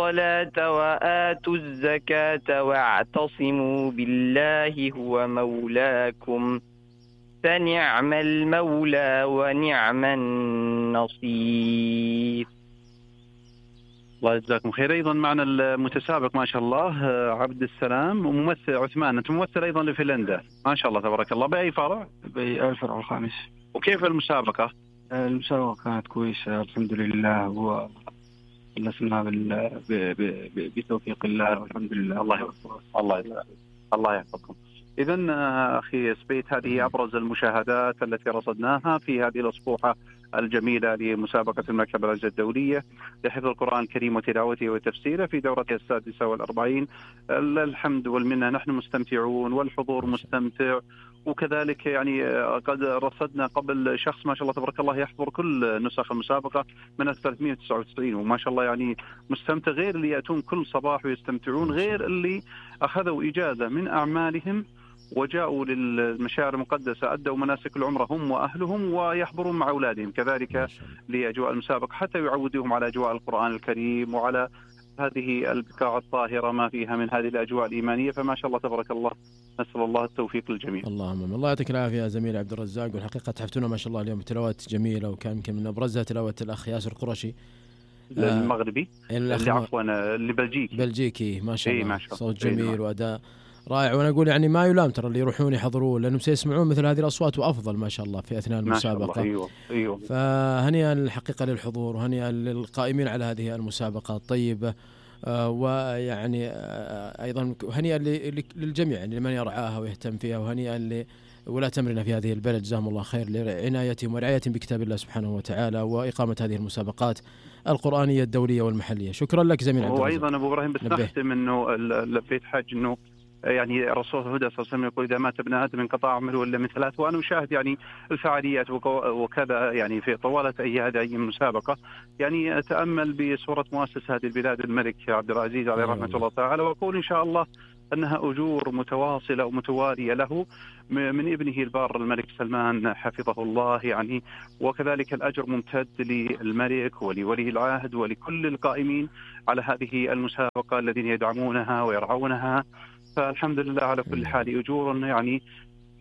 الصلاة وآتوا الزكاة واعتصموا بالله هو مولاكم فنعم المولى ونعم النصير. الله يجزاكم خير. أيضا معنا المتسابق ما شاء الله عبد السلام وممثل عثمان، أنت ممثل أيضا لفنلندا ما شاء الله تبارك الله. بأي فرع؟ بالفرع الخامس. وكيف المسابقة؟ المسابقة كانت كويسة الحمد لله، وخلصنا بتوفيق الله والحمد لله. الله يحفظكم. إذن أخي سبيت، هذه أبرز المشاهدات التي رصدناها في هذه الأسبوعة الجميلة لمسابقة المكتبة العلمية الدولية لحفظ القرآن الكريم وتلاوته وتفسيره في دورتها 46. الحمد والمنة، نحن مستمتعون والحضور مستمتع، وكذلك يعني قد رصدنا قبل شخص ما شاء الله تبارك الله يحضر كل نسخ المسابقة من 1399 وما شاء الله يعني مستمتع، غير اللي يأتون كل صباح ويستمتعون، غير اللي أخذوا إجازة من أعمالهم وجاءوا للمشاعر المقدسة أدوا مناسك العمرة هم وأهلهم ويحضرون مع أولادهم كذلك لأجواء المسابقة حتى يعودوهم على أجواء القرآن الكريم وعلى هذه البقاع الطاهرة ما فيها من هذه الأجواء الإيمانية. فما شاء الله تبارك الله، نسأل الله التوفيق للجميع. اللهم الله يعطيك العافية يا زميل عبد الرزاق، والحقيقة تحفتونا ما شاء الله اليوم تلاوات جميلة، وكان يمكن من أبرزها تلاوة الأخ ياسر قرشي المغربي اللي عفوا اللي بلجيكي ما شاء الله صوت جميل وأداء رائع. وانا اقول يعني ما يلام ترى اللي يروحون يحضرون لانهم سيسمعون مثل هذه الاصوات وافضل ما شاء الله في اثناء المسابقه. أيوة. فهنيئا الحقيقه للحضور وهنيئا للقائمين على هذه المسابقه الطيبه، ويعني ايضا هنيئا للجميع يعني لمن يرعاها ويهتم فيها، وهنيئا لولاة امرنا في هذه البلد جزاهم الله خير لعنايتهم ورعايتهم بكتاب الله سبحانه وتعالى واقامه هذه المسابقات القرآنية الدولية والمحلية. شكرا لك زميل عبد الرزاق. وأيضا أبو إبراهيم بس نختم أنه لبيت حج أنه يعني الرسول صلى الله عليه وسلم يقول إذا مات ابن آدم انقطع عمله إلا من ثلاث، وأنا أشاهد يعني الفعاليات وكذا يعني في طوالة هذه المسابقة، يعني أتأمل بصورة مؤسس هذه البلاد الملك عبد العزيز عليه رحمة الله تعالى، وأقول إن شاء الله أنها أجور متواصلة ومتوالية له من ابنه البار الملك سلمان حفظه الله يعني، وكذلك الأجر ممتد للملك ولولي العهد ولكل القائمين على هذه المسابقة الذين يدعمونها ويرعونها. فالحمد لله على كل حال أجور يعني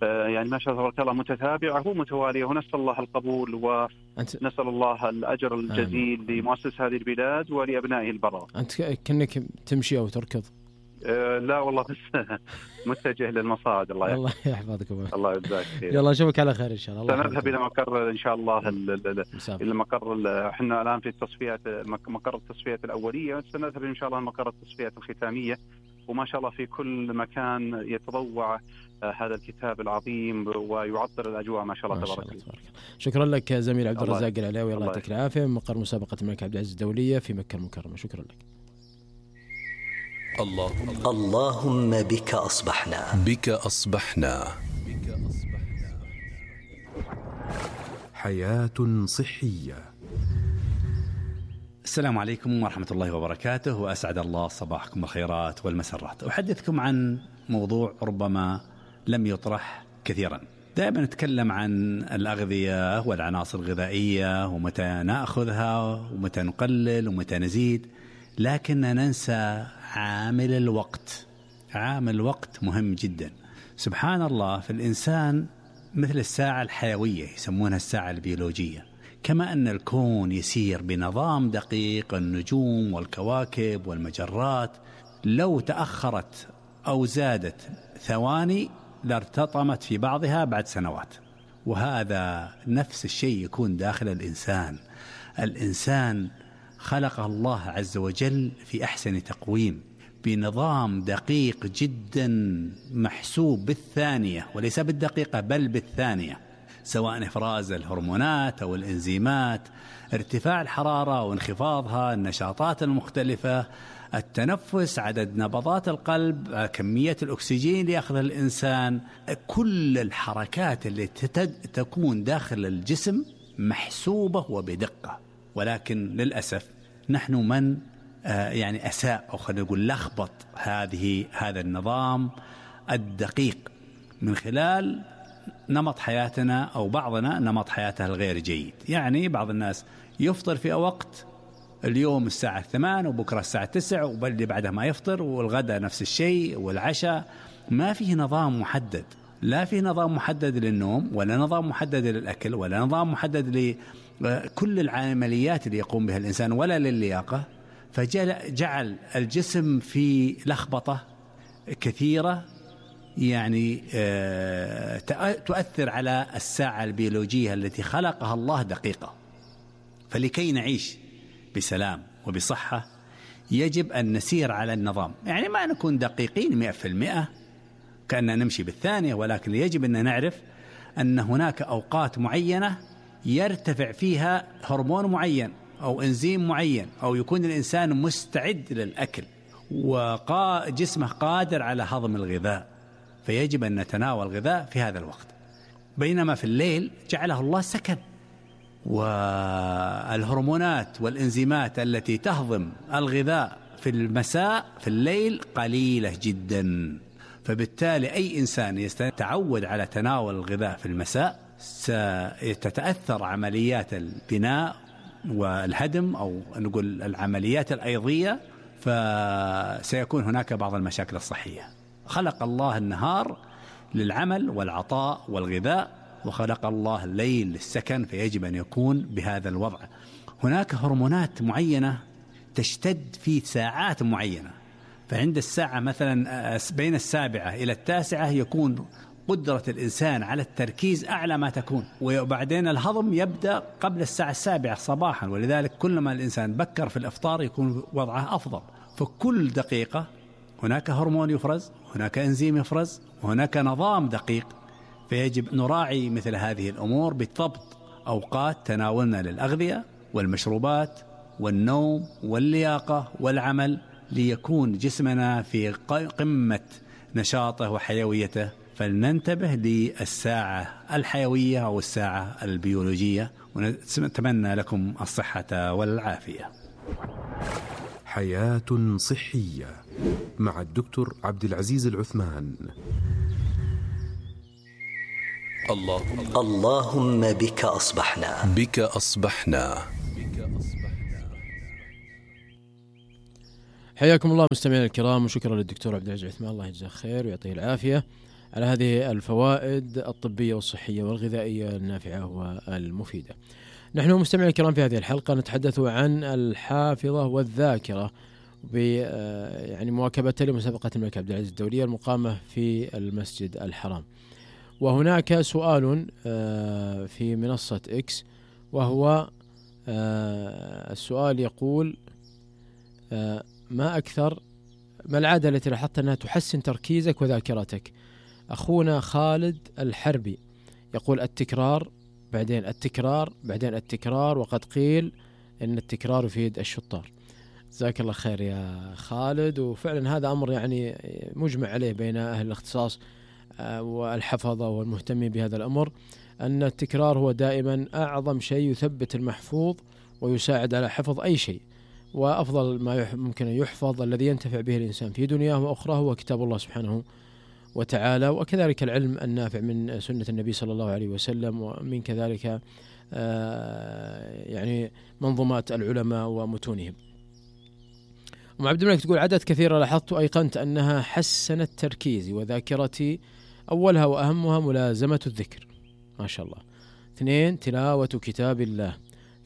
ما شاء الله تبارك الله متتابعة ومتوالية، ونسأل الله القبول ونسأل الله الأجر الجزيل لمؤسس هذه البلاد ولأبنائه البررة. أنت كأنك تمشي أو تركض؟ لا والله بس متجه للمصاعد. الله يحفظك الله يجزاك خير. يلا اشوفك على خير ان شاء الله. سنذهب الى مقر ان شاء الله الى مقر احنا الان في التصفيات مقر التصفيات الاوليه، سنذهب ان شاء الله مقر التصفيات الختاميه، وما شاء الله في كل مكان يتضوع هذا الكتاب العظيم ويعطر الاجواء ما شاء الله تبارك الله. شكرا لك زميل عبد الرزاق العلاوي، الله يعطيك العافيه، من مقر مسابقه الملك عبد العزيز الدوليه في مكه المكرمه. شكرا لك. اللهم بك أصبحنا حياة صحية. السلام عليكم ورحمة الله وبركاته، وأسعد الله صباحكم بالخيرات والمسرات. أحدثكم عن موضوع ربما لم يطرح كثيرا. دائما نتكلم عن الأغذية والعناصر الغذائية ومتى نأخذها ومتى نقلل ومتى نزيد، لكننا ننسى عامل الوقت. عامل الوقت مهم جدا. سبحان الله، في الإنسان مثل الساعة الحيوية يسمونها الساعة البيولوجية، كما أن الكون يسير بنظام دقيق، النجوم والكواكب والمجرات لو تأخرت أو زادت ثواني لارتطمت في بعضها بعد سنوات. وهذا نفس الشيء يكون داخل الإنسان. الإنسان خلق الله عز وجل في أحسن تقويم بنظام دقيق جدا محسوب بالثانية وليس بالدقيقة بل بالثانية، سواء إفراز الهرمونات أو الإنزيمات، ارتفاع الحرارة وانخفاضها، النشاطات المختلفة، التنفس، عدد نبضات القلب، كمية الأكسجين اللي يأخذها الإنسان، كل الحركات اللي تكون داخل الجسم محسوبة وبدقة. ولكن للأسف نحن من يعني أساء أو خلينا نقول لخبط هذا النظام الدقيق من خلال نمط حياتنا، أو بعضنا نمط حياته الغير جيد. يعني بعض الناس يفطر في وقت اليوم الساعة 8 وبكرة الساعة 9 وباللي بعدها ما يفطر، والغداء نفس الشيء والعشاء. ما فيه نظام محدد، لا فيه نظام محدد للنوم ولا نظام محدد للأكل ولا نظام محدد لكل العمليات اللي يقوم بها الإنسان ولا للياقة. فجعل الجسم في لخبطة كثيرة يعني تؤثر على الساعة البيولوجية التي خلقها الله دقيقة. فلكي نعيش بسلام وبصحة يجب أن نسير على النظام، يعني ما نكون دقيقين 100% كأننا نمشي بالثانية، ولكن يجب أن نعرف أن هناك أوقات معينة يرتفع فيها هرمون معين أو إنزيم معين، أو يكون الإنسان مستعد للأكل وجسمه قادر على هضم الغذاء، فيجب أن نتناول الغذاء في هذا الوقت. بينما في الليل جعله الله سكن، والهرمونات والإنزيمات التي تهضم الغذاء في المساء في الليل قليلة جدا. فبالتالي أي إنسان يتعود على تناول الغذاء في المساء ستتأثر عمليات البناء والهدم، أو نقول العمليات الأيضية، فسيكون هناك بعض المشاكل الصحية. خلق الله النهار للعمل والعطاء والغذاء، وخلق الله الليل للسكن، فيجب أن يكون بهذا الوضع. هناك هرمونات معينة تشتد في ساعات معينة، فعند الساعة مثلا بين 7 إلى 9 يكون قدرة الإنسان على التركيز أعلى ما تكون، وبعدين الهضم يبدأ قبل الساعة 7 صباحا، ولذلك كلما الإنسان بكر في الإفطار يكون وضعه أفضل. فكل دقيقة هناك هرمون يفرز، هناك إنزيم يفرز، وهناك نظام دقيق، فيجب نراعي مثل هذه الأمور بضبط أوقات تناولنا للأغذية والمشروبات والنوم واللياقة والعمل، ليكون جسمنا في قمة نشاطه وحيويته. فلننتبه للساعة الحيوية أو الساعة البيولوجية، ونتمنى لكم الصحة والعافية. حياة صحية مع الدكتور عبد العزيز العثمان. اللهم بك أصبحنا. بك أصبحنا. حياكم الله مستمعينا الكرام، وشكرا للدكتور عبد العزيز العثمان، الله يجزاه خير ويعطيه العافية على هذه الفوائد الطبية والصحية والغذائية النافعة والمفيدة. نحن مستمعينا الكرام في هذه الحلقة نتحدث عن الحافظة والذاكرة يعني مواكبة لمسابقة الملك عبد العزيز الدولية المقامة في المسجد الحرام. وهناك سؤال في منصة إكس، وهو السؤال يقول: ما العادة التي لاحظت أنها تحسن تركيزك وذاكرتك؟ أخونا خالد الحربي يقول: التكرار، بعدين التكرار، بعدين التكرار، وقد قيل إن التكرار يفيد الشطار. جزاك الله خير يا خالد. وفعلا هذا أمر يعني مجمع عليه بين أهل الاختصاص والحفظة والمهتمين بهذا الأمر، أن التكرار هو دائما أعظم شيء يثبت المحفوظ ويساعد على حفظ أي شيء. وأفضل ما ممكن أن يحفظ الذي ينتفع به الإنسان في دنياه وأخراه هو كتاب الله سبحانه وتعالى، وكذلك العلم النافع من سنة النبي صلى الله عليه وسلم، ومن كذلك يعني منظومات العلماء ومتونهم. أم عبد الملك تقول: عدد كثيرة لاحظت أيقنت أنها حسنت تركيزي وذاكرتي. أولها وأهمها ملازمة الذكر، ما شاء الله. 2 تلاوة كتاب الله.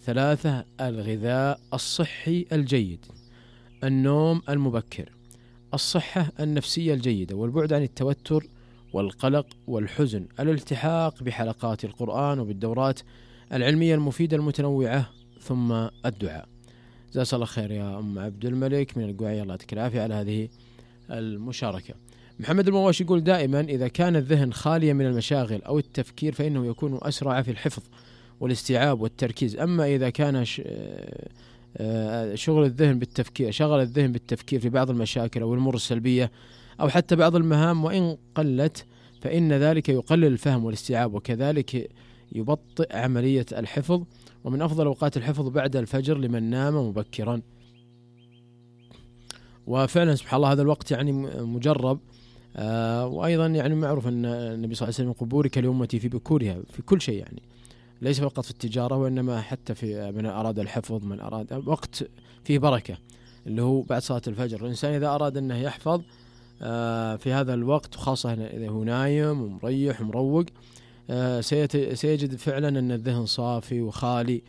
3 الغذاء الصحي الجيد. النوم المبكر. الصحة النفسية الجيدة، والبعد عن التوتر والقلق والحزن. الالتحاق بحلقات القرآن وبالدورات العلمية المفيدة المتنوعة. ثم الدعاء. جزاك الله خير يا أم عبد الملك من القوعية، الله يعطيك العافية على هذه المشاركة. محمد المواش يقول: دائما إذا كان الذهن خاليا من المشاغل أو التفكير فإنه يكون أسرع في الحفظ والاستيعاب والتركيز. أما إذا كان شغل الذهن بالتفكير في بعض المشاكل أو الأمور السلبية أو حتى بعض المهام وإن قلت، فإن ذلك يقلل الفهم والاستيعاب، وكذلك يبطئ عملية الحفظ. ومن أفضل أوقات الحفظ بعد الفجر لمن نام مبكرا. وفعلا سبحان الله هذا الوقت يعني مجرب. وأيضا يعني معروف أن النبي صلى الله عليه وسلم يقول: بورك لأمتي في بكورها في كل شيء، يعني ليس فقط في التجارة وإنما حتى في من أراد الحفظ، من أراد وقت فيه بركة اللي هو بعد صلاة الفجر. الإنسان إذا أراد أنه يحفظ في هذا الوقت، وخاصة إذا هو نايم ومريح ومروق، سيجد فعلا أن الذهن صافي وخالي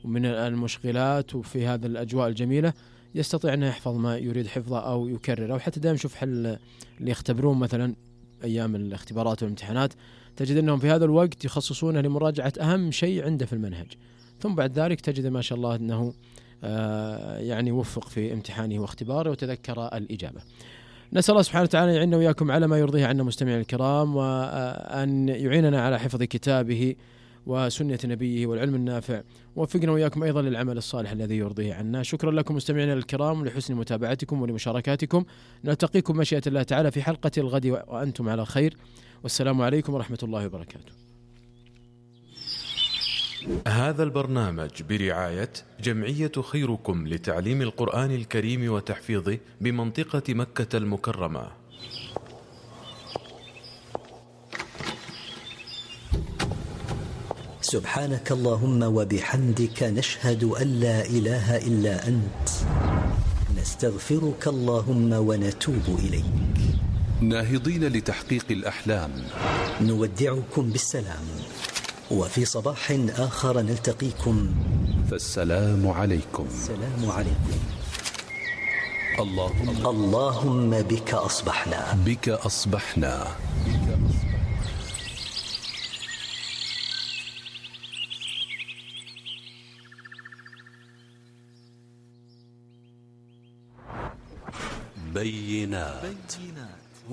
من المشغلات، وفي هذا الأجواء الجميلة يستطيع أن يحفظ ما يريد حفظه أو يكرر. أو حتى دائما شوف اللي يختبرون مثلا أيام الاختبارات والامتحانات، تجد أنهم في هذا الوقت يخصصونه لمراجعة أهم شيء عنده في المنهج، ثم بعد ذلك تجد ما شاء الله أنه يعني وفق في امتحانه واختباره وتذكر الإجابة. نسأل الله سبحانه وتعالى أن يعيننا وإياكم على ما يرضيه عنا مستمعين الكرام، وأن يعيننا على حفظ كتابه وسنة نبيه والعلم النافع، ووفقنا وإياكم أيضا للعمل الصالح الذي يرضيه عنا. شكرا لكم مستمعينا الكرام لحسن متابعتكم ولمشاركاتكم. نلتقيكم مشيئة الله تعالى في حلقة الغد وأنتم على خير، والسلام عليكم ورحمة الله وبركاته. هذا البرنامج برعاية جمعية خيركم لتعليم القرآن الكريم وتحفيظه بمنطقة مكة المكرمة. سبحانك اللهم وبحمدك، نشهد أن لا إله إلا أنت، نستغفرك اللهم ونتوب إليك. ناهضين لتحقيق الأحلام، نودعكم بالسلام، وفي صباح آخر نلتقيكم، فالسلام عليكم. السلام عليكم. اللهم بك أصبحنا، بك أصبحنا. بينات.